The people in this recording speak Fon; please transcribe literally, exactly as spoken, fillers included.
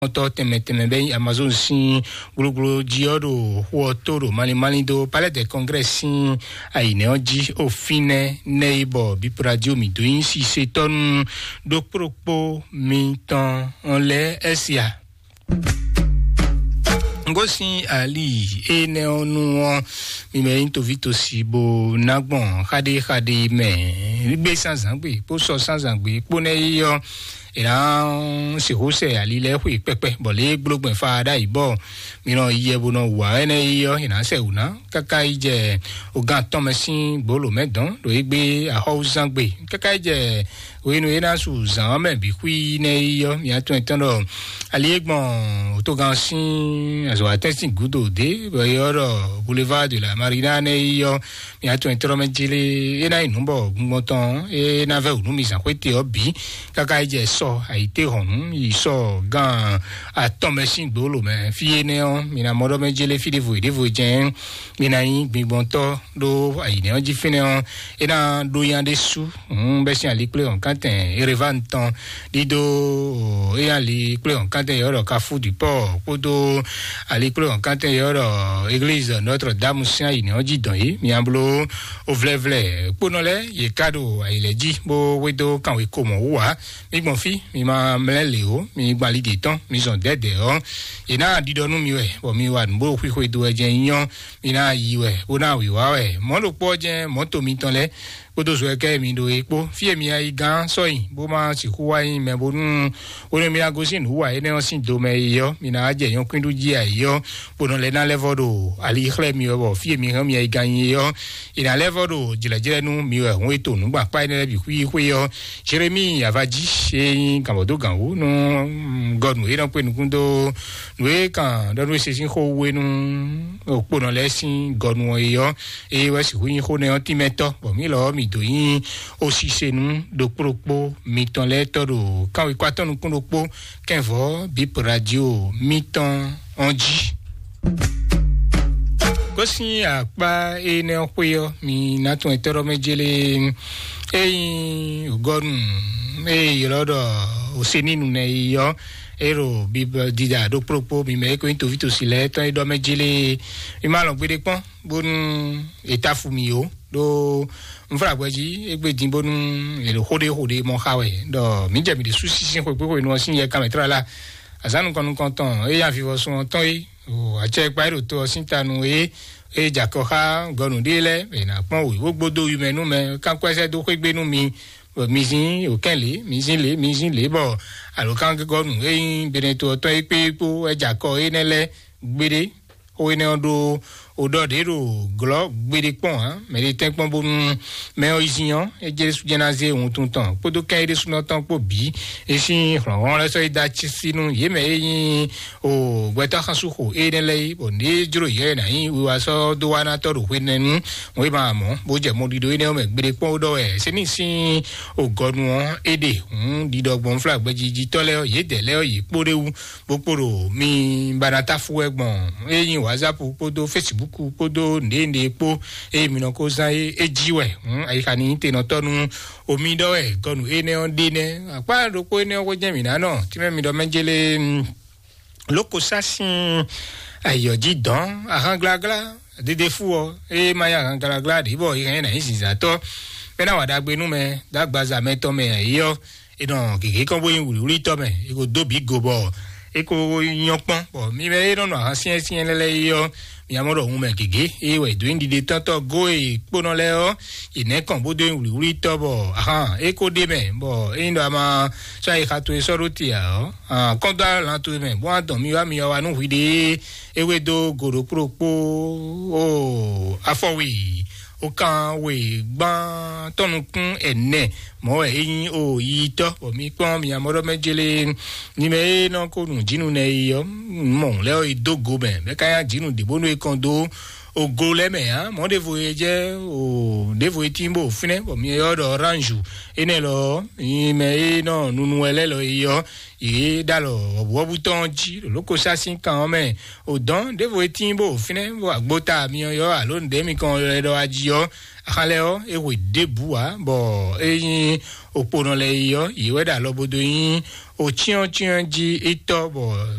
tɔ́ tɛnmɛ tɛnmɛ bɛ nyí Amazon sín gblogbló jí ɔ́ ɖo xó ɔ́ tó ɖo malín malín dó Palais des Congrès sín ayǐnɛ́ ɔ́ jí. Ó fínɛ́ nɛ́ é bɔ Bip Radio mǐ dó nyí sisetɔ́ nú ɖokpó ɖokpó mitɔn lɛ́ɛ ɛ́ sia. Ngosín ali énɛ́ ɔ́ nu ɔ́, mi mɛ nyí toví tosi bó ná gbɔn xaɖé xaɖé mɛ gbé sánzǎn gbé kpó sɔ sánzǎn gbé kpó nɛ́ é ɔ́, è nǎ sixú sɛ ali lɛ́ɛ xwe kpɛkpɛ bɔ lě e gblógbɛn fa ɖ'ayǐ bɔ mi nɔ yɛ bó nɔ wǎ ɛnɛ́ é ɔ́, è nǎ sɛ wǔ ná káká yi jɛ ogán atɔ́ mɛ sín gbǒlǒ mɛ dɔn ɖo égbé axɔ́wúzángbe káká yi jɛ hwenu e ná su zǎn ɔ́ mɛ bǐ xwí nɛ́ é ɔ́, mi atɔn etɔn ɖɔ ali e gbɔn òtógan sín azɔ̌watɛ́n sín gǔdo dě bɔ é ɔ́ ɖɔ Boulevard de la Marina nɛ́ é ɔ́, mi atɔn etɔn mɛ jélé é ná yi nǔ bɔ gbɔngbɔn tɔn é ná vɛ́ wǔ nú mi zǎn xwéte ɔ́ bǐ káká yi jɛ sɔ ayǐtéhɔ̌nnu yi sɔ gán atɔn mɛ sín gbǒlǒ mɛ. Fí énɛ́ ɔ́, mi ná mɔ ɖɔ mɛ jélé fí ɖěvo yi ɖěvo jɛ́n mi ná nyí gbingbɔntɔ́ ɖó ayǐnɛ́ ɔ́ jí fínɛ́ ɔ́, é ná ɖó nya ɖésú bɛ́ sín alikpléhɔ̌nkántɛn Erevan tɔn ɖíɖó é nya alikpléhɔ̌nkántɛn yɔ̌ɖɔ Carrefour du Port kpódó alikpléhɔ̌nkántɛn yɔ̌ɖɔ Église Notre Dame sín ayǐnɛ́ ɔ́ jí dɔn yě. Mi nya bló ovlɛ́vlɛ́ kpónɔ lɛ́ɛ yě ká ɖo ayǐ lɛ́ɛ jí bó hwedó kanwekómɔ wú ǎ. Mi gbɔn fí, mi ma mlɛ́ lě ó, mi gbɔn ali ɖě tɔn, mi zɔn dɛ̌dɛ̌ ɔ́, yě ná ɖiɖɔ nú mi wɛ, bɔ mi wa nǔ bó xwixwe do wɛ jɛ́n nyí ɔ́, mi ná yi wɛ, bó ná wǐwá wɛ. Mɔ̌ ɖokpó ɔ́ jɛ́n mɔ̌ to mitɔn lɛ́ɛ kpódó zo e kɛ mi ɖo é kpó. Fí e mi yi gán sɔ́ nyi, bó ma sixú wá nyí mɛ bónú hwenu e mi ná gosín nǔ wa énɛ́ ɔ́ sín do mɛ é ɔ́, mi ná jɛ nyɔ̌kwín ɖu jí ayǐ ɔ́, bó nɔ lɛ́ ná lɛ́ vɔ́ ɖo ali xlɛ́ mi wɛ, bɔ fí e mi hɛn mi yi gán nyi é ɔ́, è nǎ lɛ́ vɔ́ ɖo jlɛ̌jlɛ́ nú mi wɛ hǔn e to nǔgbakpá énɛ́ lɛ́ɛ bǐ xwíxwí ɔ́. Jeremíi Avají e nyí gǎnbɔdógǎn wú nú gɔnu e nɔ kpé nukún dó nǔ e kan ɖɔ nú e se sín xó wú é nú òkponɔ lɛ́ɛ sín gɔnu ɔ́ é ɔ́, eye wɛ sixú nyí xó nɛ́ ɔ́ tínmɛtɔ́, bɔ mǐ lɔ ɔ́ mǐ dó nyí osise nú ɖokpó ɖokpó mitɔn lɛ́ɛ tɔ́ ɖo kanwekɔ atɔ́ nukún ɖokpó kɛnvɔ́ bíp radio mitɔn ɔ́ jí. Gosín akpá énɛ́ xwé ɔ́, mi ná tún ɛtɛ́ ɖɔ mɛ jélé ényí ògɔ́nu e ylɔ́ ɖɔ òsínínú nɛ yi ɔ́, é ɖo bíbélì dida ɖokpó ɖokpó mi mɛ é ko nyí toví tosi lɛ́ɛ tɔn é ɖɔ mɛ jélé. Mi ma lɔn gbeɖé kpɔ́n bónú è ta fu mi ó ɖó nflágbɛ́ jí égbé dín bónú è ɖo xó ɖé xó ɖé mɔ xa wɛ ɖɔ mǐ jɛ mǐ ɖésú sísí xwekpéxwenu ɔ́ sín yɛ kanmɛ tlala azǎn nukɔn nukɔntɔn é nya vivɔsun ɔ́ tɔn é o acɛ kpa é ɖo to ɔ́ sín tanu é é jakɔ xá gɔnu ɖé lɛ́ɛ è nǎ kpɔn wěwó gbódó yi mɛ nú mɛ kánkɔ́ ɛsɛ dó xwé gbé nú mi bɔ mi zín òkɛ́n lě mi zín lě mi zín lě bɔ alǒkángɔ́nu é nyí benɛto ɔ́ tɔn é kpé kpó é jakɔ énɛ́ lɛ́ɛ gbeɖé. Xó énɛ́ ɔ́ ɖó o ɖɔ ɖě ɖo glɔ́ gbeɖé kpɔ́n ǎ. Mɛ ɖé tɛ́nkpɔ́n bónú mɛ ɔ́ yi zin ɔ́, é jɛ ɖésú jɛ́n ná zé wuntun tɔn kpódó kɛ́n é ɖésúnɔ tɔn kpó bǐ. É sín hlɔ̌nhlɔ́n lɛ́ɛ sɔ́ yi dó acísí nú yě mɛ e nyí o gbɛtɔ́ xansúxo énɛ́ lɛ́ɛ é, bɔ nǔ e jló yě wɛ ná nyí wiwa sɔ́ dó wá ná tɔ́ ɖo hwenɛ́nu. Wěma mɔ̌ bó jɛ mɔɖiɖo énɛ́ ɔ́ mɛ gbeɖé kpɔ́n ó ɖɔ wɛ. Sɛ́nísín o gɔnu ɔ́ é ɖe hǔn ɖiɖɔ gbɔn flágbɛ́jiji tɔ́ lɛ́ɛ ɔ́, yědɛɛ lɛ́ɛ ɔ́, yě kpó ɖé wú bó kpo ɖo mi ba ná táfú wɛ gbɔn é nyí whatsapp kpódó facebook kpódó nɖénɖé kpó eye mi nɔ ko zán é é jí wɛ. Ayixa ní nyí tenɔtɔ́ nú omi ɖɔ wɛ gɔnu énɛ́ ɔ́ ɖe nɛ́ akpá ɖokpó énɛ́ ɔ́ xwé jɛ́n mǐ ná nɔ tínmɛ mi ɖɔ mɛ jélé lóko sá sín ayǐ ɔ́ jí dɔn ahán gláglá dédé fú ɔ́ eye má nyí ahán gláglá ɖě bɔ é hɛn ná nyí zǐnzǎtɔ́ mɛ ná wa ɖagbe nú mɛ dó agbaza mɛtɔn mɛ ayǐ ɔ́. È nɔ gěgé kɔn bó nyí wlǐwlítɔ́ mɛ, è ko dó bǐ go bɔ é ko nyɔ́ kpɔ́n. Bɔ mi mɛ e nɔ nɔ ahan syɛ́nsyɛ́n lɛ́ɛ é ɔ́, mi amɔ ɖɔ hun mɛ gěgé eye wɛ è dǒ nyi ɖiɖe tɔ́ntɔ́ gó e kpónɔ lɛ́ɛ ɔ́, è nɛ̌ kɔn bó dó nyí wlǐwlítɔ́ bɔ ahan é ko ɖ'é mɛ bɔ ényí ɖɔ a ma sɔ́ ayixa towe sɔ́ ɖó te ǎ ɔ́, kɔn dó alán towe mɛ bó wá dɔn mi wá mi wá wá nú hwiɖée é wé dó go ɖokpó ɖokpó o afɔwi. Okan we gbán tɔnukún ɛnɛ mɔ̌ wɛ é nyí o yiyitɔ́ bɔ mi kpɔ́n mi amɔɖɔmɛ jélé ní mɛ é nɔ ko nǔ jínú nɛ yi ɔ́ mɔ lɛ́ ɔ́ yi dó go mɛ mɛ ka nyá jínú ɖě bónú é kɔn dó Ogo lɛ́ɛ mɛ ǎ, mɔ̌ ɖěvo e jɛ o ɖěvo e tín bó fínɛ́, bɔ mi ylɔ́ ɖɔ orange. Énɛ́ lɔ ɔ́, nyi mɛ e nɔ nunu wɛ lɛ́ lɔ e ɔ́, yě ɖo alɔ wɔ̌buwɔ́bú tɔn jí ɖo lókosá sín kan ɔ́ mɛ. O dɔn ɖěvo e tín bó fínɛ́, bɔ agbota mi ɔ́ ylɔ́ alo nǔɖé mi kɔn ylɔ́ ɖɔ ají ɔ́, axan lɛ́ɛ ɔ́, é hwe ɖěbǔ ǎ, bɔ é nyí okponɔ lɛ́ɛ e ɔ́, yě wɛ ɖo alɔ bo dó nyí ocyɔ́ncyɔ́n jí é tɔ́, bɔ